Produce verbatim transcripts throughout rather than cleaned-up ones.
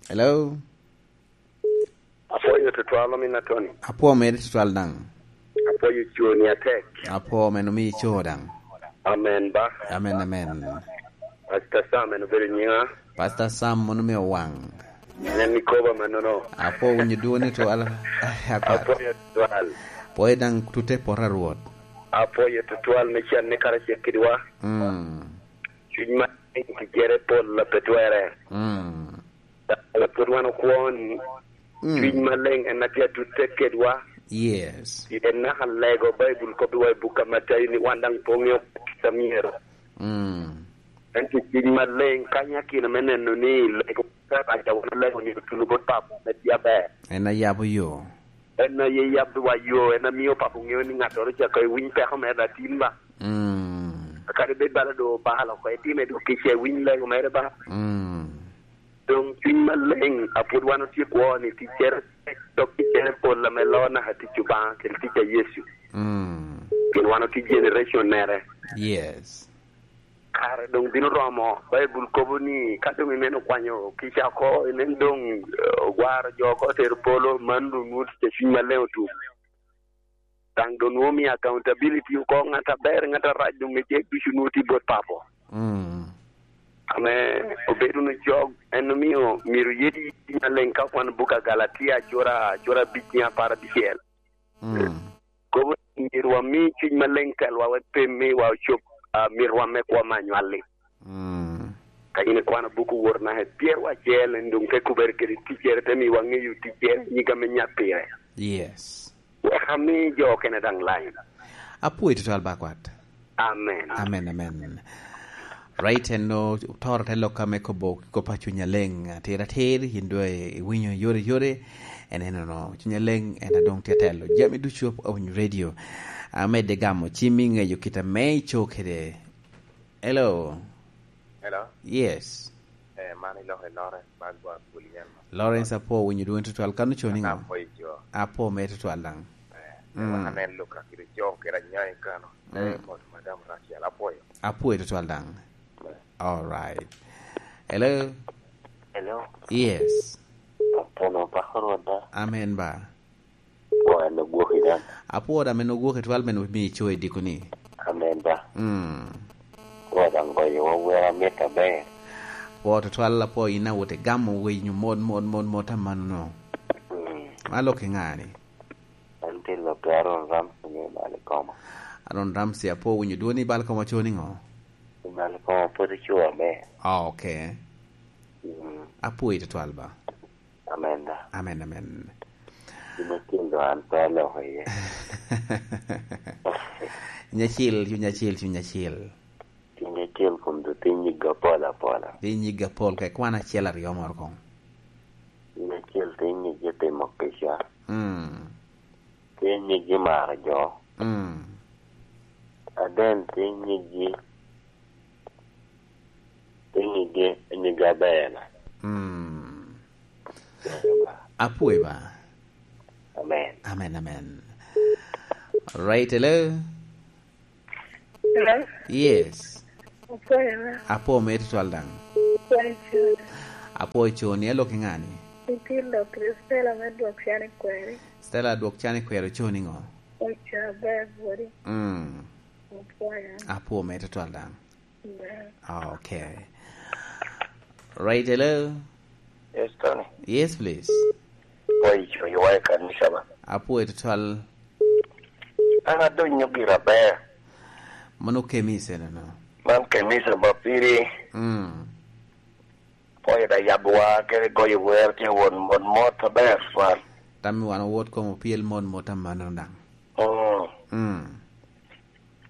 Hello? Apwoyo tutwal, omin Atoni. Apwo mere tutwal daŋ. Apwoyo coni atek. Apwo men omi ico daŋ. Amen ba. Amen, amen. Pastor Sam en obedo nyiŋa. Pastor Sam mono me owaŋ. En ikoba mannono. Apwo winyo dwoni twal. Akwat. Apwoyo tutwal. Apwoyo daŋ tute poto a Rwot. Apwoyo tutwal me can ni karacel kedwa. Mm. Cuny ma ticere pol a pe twere. Mm. Pwod wan okwo ni, mm, Cuny Maleŋ en a tye atutte kedwa. Yes. Pien naka lego Baibul kobbiwa i buk a Matayo ni wan daŋ pe oŋeo kit a myero. Mm. Ento Cuny Maleŋ kanyo akina me neno ni lego ka rac a wan olego ni otuno bot Papo ame tye aber. En a yabo yo. En aye yabbiwa yo, en a mio Papo ŋeo ni ŋattoro ca ka ewiny peko mere atin ba. Mm. Kadi bed bala doŋ obalo oko, itime doŋ kica, iwiny lego mere ba. Mm. Doŋ Cuny Maleŋ a pwod wan otye kwo ni ticcere tek, dok ticcere pol ame loo naka tic Obaŋa kede tic a Yecu. Mm. Pien wan otye generation mere. Yes. Kare doŋ bino romo. Baibul kobo ni ka doŋ ineno kwanyo kica oko, inen doŋ, eh, ogwaro jo oko, otero polo, man doŋ nwoŋo tic a Cuny Maleŋ otum. Daŋ doŋ nwoŋo mio accountability oko, ŋat aber, ŋat arac, doŋ mejek ducu nwoŋo tye bot Papo. Mm. Ame obedo wunu cok, en omio myero yedi Cuny Maleŋ ka kwano buk a Galatia, cura, cura abic, nyo apar abicel. Mm. Kobo ni myero wami Cuny Maleŋ telwa wek pe miwa ocob, ah, mitwa me kwo me anywalli. Mm. Ka in ikwano buk Wot naka i pyerwa acel, en doŋ te kubere kede ticcere, te miwa ŋeyo ticcere, nyig ame nyat pire. Yes. Wek ami jo okene daŋ lain. Apwoyo tutwal ba kwat. Amen. Amen, amen. Right, en o-, otoro te lok ame kobo kop a Cuny Aleŋ atir atir, yin doŋ iwinyo yore yore, en enono. Cuny Aleŋ en a doŋ tye telo jami ducu a Winyo Radio. Amedde gamo cimmi ŋeyo kit ame ico kede. Hello. Hello. Yes. Eh, man iloko i Lawrence Bagbo Agulian. Lawrence, apwo winyo dwoni tutwal. Kan ocoo niŋo? Apwo ico. Apwo mere tutwal daŋ. Eh, mm. Wan aneno lok a kite cong kede anyoŋ i kano. Mm. Eh, mot Madam Rachel, apwoyo. Apwoyo tutwal daŋ. Eh. All right. Hello? Hello? Yes. Apwoyo, pako Rwot da. Amen ba. Apwoyo, an ogwoki daŋ. Apwoyo da, men ogwoki twal, men omi ico i diko ni. Amen ba. Mm. Apwoyo daŋ goyo wa wer amit aber. Apwoyo tutwal, apwoyo in awot igamo winyo mot, mot, mot, mot amanno. Mm. Ma lok i ŋa ni? An tye lok i Aaron Ramsey me Malikoma. Aaron Ramsey, apwoyo winyo dwoni. Bal koma co niŋo? Malikoma pwod ocoo aber. Ah, ok. Mm. Apwoyi tutwal ba. Amen da. Amen, amen. Cuny acil doŋ an pe aloko iye. Cuny acil, cuny acil, cuny acil. Cuny acil kun doŋ tye nyiggi apol apola. Tye nyiggi apol, ka ikwan acel aryo moro koŋ. Cuny acil tye nyiggi timo kica. Mm. Tye nyiggi maro jo. Mm. Aden tye nyiggi, tye nyiggi, nyiggi aber. Mm. Apwoyo ba. Amen. Amen, amen. Right, hello? Hello? Yes. Apwoyo ba. Apwoyo mere tutwal daŋ. Apwoyo coni. Apwoyo coni, alok i ŋa ni? Itye lok i Stella me dwok can i kweri. Stella dwok can i kweri, ocoo niŋo? Ocoo aber, bwodi. Mm. Apwoyo. Apwoyo mere tutwal daŋ. Amen. Ah, ok. Right, hello? Yes, Tony. Yes, please. Apwoyo coyo wa i kanisa ba. Apwoyo tutwal. An adonyo gira aber. Mano kemi isenono. Man kanisa ba piri. Mm. Apwoyo da yabwa kede goyo wer tye won mot mot aber twal. Tammi wan owot kom opyel mot mot amanno daŋ. Mm. Mm.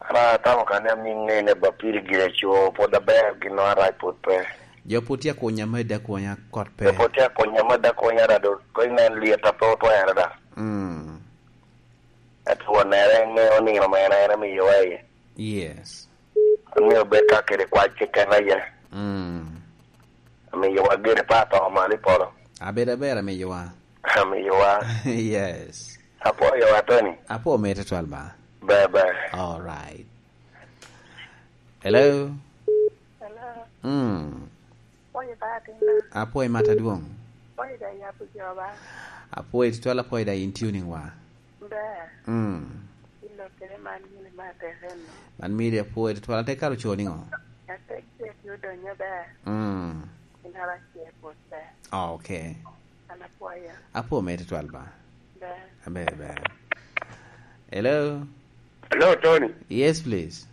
An atamo ka ni amiŋ ŋe ni bapiri gire co pwod aber, gin arac pwod pe. Jo pwod tye akunya, medde akunya, kot pe. Jo pwod tye akunya, medde akunya, rado ko inen lyet a pe otwere da. Mm. Ento wonere ŋeo nino mere en amiyowa iye. Yes. Amiyo bed ka kede kwac keken aye. Mm. Amiyowa gire pa to malo i polo. Abed aber amiyowa. Amiyowa. Yes. Apwoyo wa, Tony. Apwo mere tutwal ba. Ber, ber. All right. Hello? Hello. Mm. Apwoyo ba atinna. Apwoyo mata dwong. Apwoyo da yabo jo ba. Apwoyo tutwal, apwoyo da in tuning wa. Ber. Mm. Ilokere man mili ma tek eno. Man mili apwoyo tutwal, ate karo co niŋo? Atek ce tye odonyo ber. Mm. Inara ce pwod ber. Oh, okay. An apwoyo. Apwo me tutwal ba. Ber. Aber, ber. Hello? Hello, Tony. Yes, please.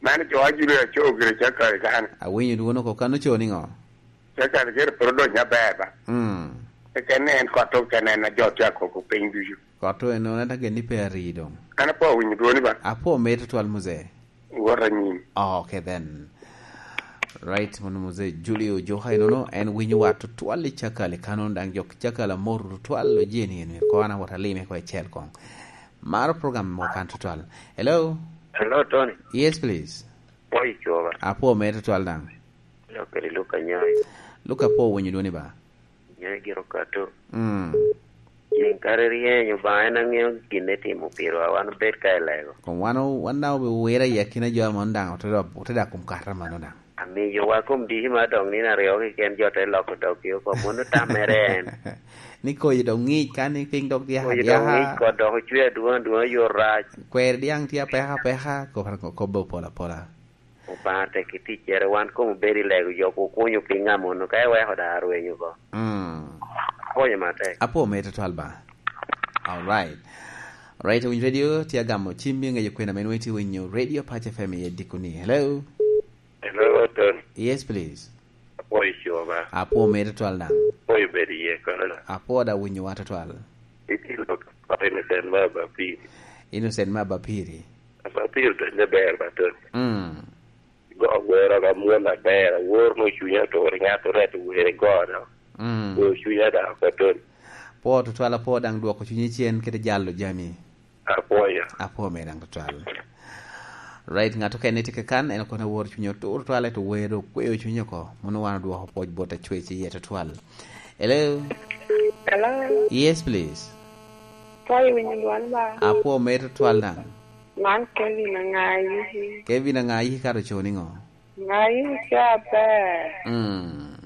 Man jo a Julius Aco gire Cakal kan. Awinyo dwon oko kan oco niŋo? Cakal gire pwod odonyo aber ba. Mm. Keken en kot to keken en a jo tye akoko piny ducu. Kot to en nono ata gen ni pe ari doŋ. An apwo awinyo dwoni ba. Apwo me tutwal muzee. Wot anyim. Oh, okay then. Right, mono muzee Julio Joka inono, en winyo wa tutwal i Cakal i kanon daŋ jok Cakal amor tutwal o jeni en myero ko an awot alime ko ecel koŋ. Maro program mo kan tutwal. Hello? Hello, Tony. Yes, please. Pwoyo coba. Apwo me tutwal daŋ. Lok kede Luka Nyoy. Luka apwo winyo dwoni ba. Nyoy gire okato. Mm. Ceng kare ryeny Obaŋa en aŋeo gin etimo piro a wan obed ka i lego. Kom wan o-, wan daŋ obe wira i akina jo a mono daŋ ote dok, ote dak kom kato mano daŋ. Amiyo wa kom diki ma dok nino aryo keken jo te loko doggi oko, mono tammere en. Ni koyi dok ŋic ka ni piny dok dyaka Koyi dok dyaka. Ŋic kot dok ocwe adwoŋ adwoŋ yo rac. Kweri dyaŋ tye apeka apeka, kop-, kobbe opol apola. Obaŋa tek i ticcere, wan kom obedo i lego jo, okunyo piny amono, ka iweko da arweny oko. Mm. Konyo matek. Apwo me tutwal ba. All right. Right, Winy Radio, tye agamo cimmi ŋeyo kwena men weti winyo Radio Pacha F M i dikoni. Hello? Hello, Tony. Yes, please. Apwoyo coba. Apwo me tutwal daŋ. Apwoyo bedo iye kono da. Apwo da winyo wa tutwal. Iti lok pa Innocent ma Bapiri. Innocent ma Bapiri. Bapiri to ne ber ba Tony. Mm. Go wero ka mwon aber, awor no cunya to ri ŋat oret were go do. Mm. Go cunya da ko Tony. Apwo tutwal, apwo daŋ dwoko cunyi cen kede jalo jami. Apwoyo. Apwo me daŋ tutwal. Right, ŋat okene tye kakan, en okone woro cunye otur twal, eto wero okweyo cunye oko. Mono wan odwoko pwoc bot acwec iye tutwal. Hello? Hello? Yes, please. Apwoyo winyo dwon ba. Apwo me tutwal daŋ. Man Kevin Aŋayi. Kevin Aŋayi kato co niŋo? Aŋayi ca ber. Mm.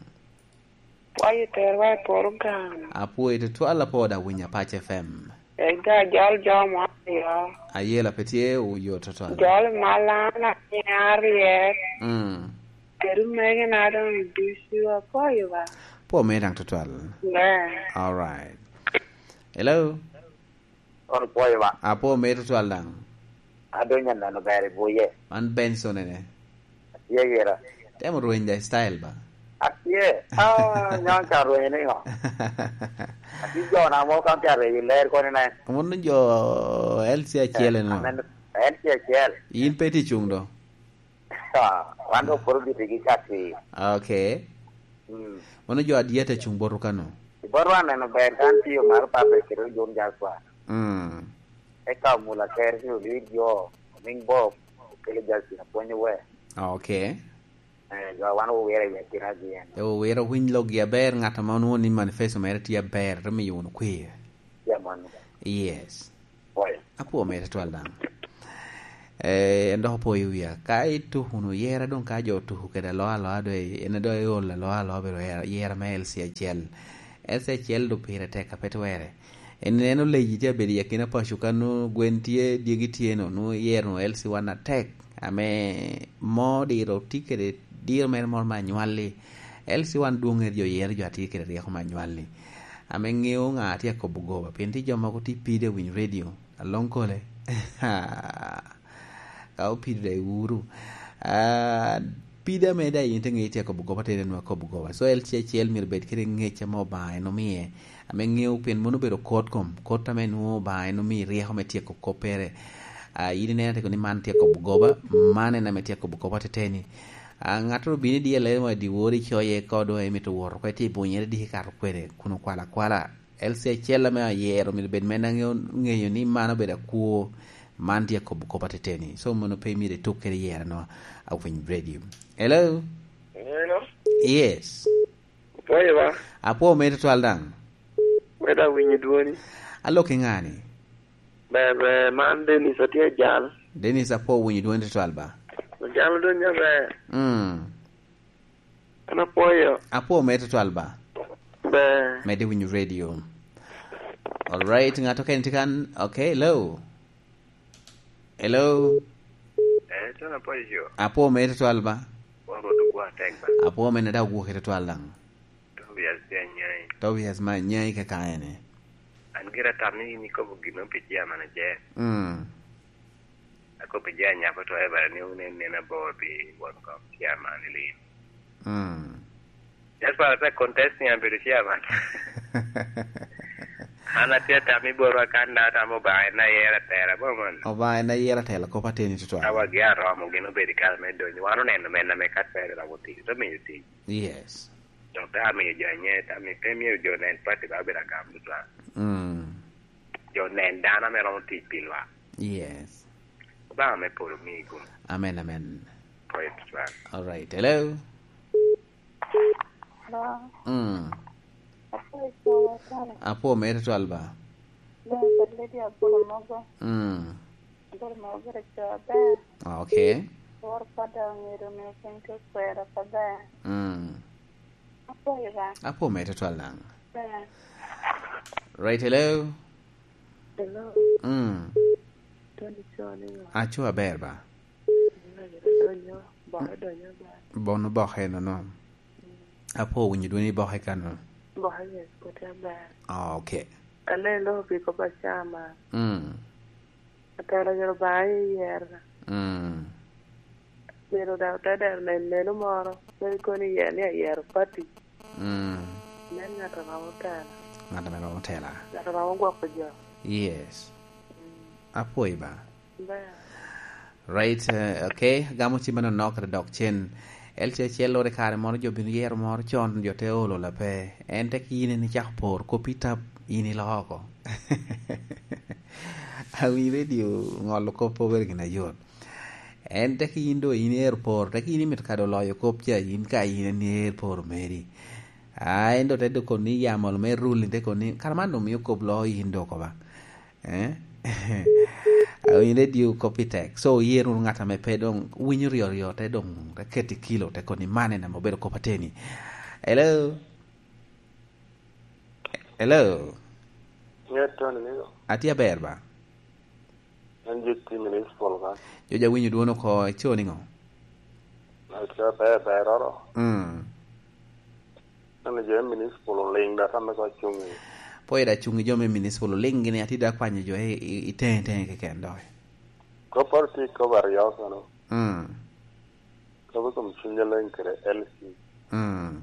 Apwoyo terwa i program. Apwoyo tutwal, apwoyo da winyo Apac F M. Ega jol jo mo aryo. Ayela pe tye oyo tutwal. Jol malan aniya aryek. Mm. Kede omegena doŋ ducu apwoyo ba. Apwo me daŋ tutwal. Ber. All right. Hello? Kono pwoyo ba. Apwo me tutwal daŋ. Adonyo aneno ber i buye. Man Benson ene. Atye gira. Temo rweny da style ba. Atye. Ah, nyon ka rweny ni ngo. Atye jo na mo kan ka rweny ler koni ne. Mono jo L C acel eno. Amen. L C acel. In pe ti cung do. Ah, wan dok pwod obitigi ka ti. Okay. Mm. Mano jo adyet a cuŋ boto kano. Boto aneno ber kan tiyo mar pape kede John Jasper. Mm. Eka omula ker ni olwid jo, omiŋ Bob, okelo Justin apwonyo we. Okay. Eh, jo wan owira i akina gi en. E owira owiny loggi aber, ŋat ma onwoŋo ni manifesto mere tye aber, te miyo wunu kwer. Ya mano. Yes. Apwoyo. Apwo mere twal daŋ. Eh, en dok opwoyo wia. Ka ituko wunu yera doŋ ka jo otuko kede aloa aloa doŋ en doŋ eolo aloa aloa obedo yera, yera me L C acel. L C acel doŋ pire tek a pe twere. En, en oleji tye abedo i akina paco kano gwen tye, dyegi tye no, nwoŋo yero nwoŋo L C one atek. Ame mo diro tye kede diro mere moro me anywalli. L C one dwoŋ ŋet jo yero jo atye kede ryeko me anywalli. Ame ŋeo ŋa atye akobo goba, pien tye jo mogo tye pide winyo redio, aloŋ kole. Ka opido dai wuru. Ah, pide ame dai in te ŋe itye akobo goba, tere nwa akobo goba. So, L C acel myero bed kede ŋec ame Obaŋa en omiye, ame ŋeo pien mono obedo kot kom, kot ame nwoŋo Obaŋa en omiyo ryeko me tyeko koppere. Ah, in ineno atye ni man tye akobo goba, man en ame tye akobo goba teteni. Ah, ŋattoro obino i dyelle wa dyewor icoye ka doŋ emito wot oko, itye ibunyere diki ikato kwede kun okwalo akwala. L C acel ame ayero myero bed men aŋeyo, ŋeyo ni man obedo akwo, man tye akobo kop ateteni. So, mono pe myero ituk kede yero no, awiny radio. Hello? Hello? Yes. Opwoyo ba? Apwo mere twal daŋ. Weda winyo dwoni. Alok i ŋani? Ber, ber, man Dennis atye ajal. Dennis, apwo winyo dwoni twal ba. Ojalo dwoni ber. Mm. An apwoyo. Apwo mere twal ba. Ber. Mede winyo radio. Alright, ng'ato kene tye kan. Okay, hello. Hello. Eh, tena pwod ico. Apwo mere tutwal ba. Won rwot ogwa tek ba. Apwo mere da ogwoki tutwal daŋ. Tobias tye anyai. Tobias ma anyai ke kaene. An gira tam ni in ikobo gino pi chairman aje. Mm. Akobo pi je anyako to Ever ni un en nen abor pi won kom chairman i lin. Mm. Just para te contest ni an bedo chairman. An atye tam i borwa kan da tam Obaŋa en ayera tera bo man. Obaŋa en ayera tela kop ateni tutwal. Awa gi aromo gin obedo i kare me donyo. Wan oneno mena me kat pere romo tic. To miyo tic. Yes. Dok te amiyo jo anyer, te amiyo, te miyo jo nen pati ba obedo agam tutwal. Mm. Jo nen dano ame romo tic pi lwak. Yes. Obaŋa me polo mi gum. Amen, amen. Praise God. All right. Hello. Hello. Mm. Apwoyo cowa sana. Apwo mere twal ba. Doŋ kod Lydia Apolo mogo. Mm. Apolo mogo bedo co aber. Ah, okay. Woro pada ongedo miyo piny te kwero pada. Mm. Apwoyo ba. Apwo mere twal daŋ. Ber. Right, hello. Hello. Mm. Tony Cone. Aco aber ba. Donyo, boke donyo ba. Bono boke nono. Apwo winyo dwoni boke kano. Boke yes, kote aber. Ah, okay. Alelo pi kop acama. Mm. Atelo yero ba i yer. Mm. Pero da ote dero nen meno moro, meno kono i yer ni ayero pati. Mm. Nen ŋat a romo tela. Ŋat ame romo tela. Ŋat a romo gwoko jo. Yes. Mm. Apwoyi ba. Ber. Right, eh, okay. Gamo ci meno nok dok cen. El ce cel lore kare moro jo bino yero moro con, jo te olo lape. En te ki yin en icako por, koppi tap, yin iloko oko. Awinyo redio ŋolo kop obedo gin ayot. En te ki yin do yin ero por, te ki yin imito kado loyo kop ca, yin ka yin en ero por meri. A, en do te do koni yamo me ruling te koni, kara man do mio kop lo yin do ko ba. Eh? Awinyo redio kop i tek. So, yer wunu ŋat ame pe doŋ winyo ryo ryo, te doŋ te keti kilo, te koni man en ame obedo kop ateni. Hello? Hello? Ŋet Tony nigo? Atye aber ba? An J T Municipal kan. Jo ja winyo dwon oko, ico niŋo? Aco ber, ber oro. Mm. An jo me municipal oliŋ da, tam me ko cuŋ i. Po ida cuŋ i jo me municipal oliŋ gini, ati da kwanyo jo i, i, i teŋe, teŋe keken dok. Ko paro ti ko bar yo kono. Mm. Kobo kom cuny aleŋ kede L C. Mm.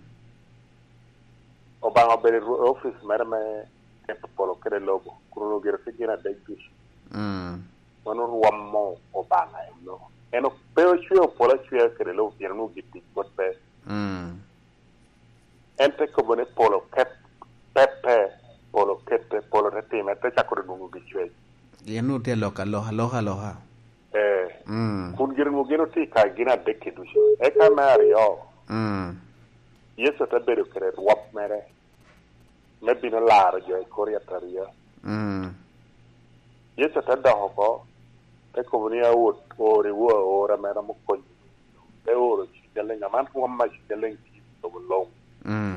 Obaŋa obedo i ru-, office mere me keto polo kede lobo, kun onwoŋo gire tye gin adek ducu. Mm. Mano rwomo Obaŋa eno. En o-, pe ocweo polo acwea kede lobo, pien onwoŋo gin tic pwod pe. Mm. En te kobo ni polo ket, pette, polo kette, polo te time, te cako dwoŋo gi cwec. Gin onwoŋo tye alok, alok, alok, aloka. Eh. Mm. Kun gire onwoŋo gin otye i kare gin adek-ki ducu. Eka me aryo, mm, Yecu te bedo kede rwom mere me bino laro jo i kor yataria. Mm. Yecu te dok oko, te kobo ni, "Awot, ori wo aora mere ame konyo." Te oro cuc aleŋ, aman rwom ma cuc aleŋ tye i lobo luŋ. Mm.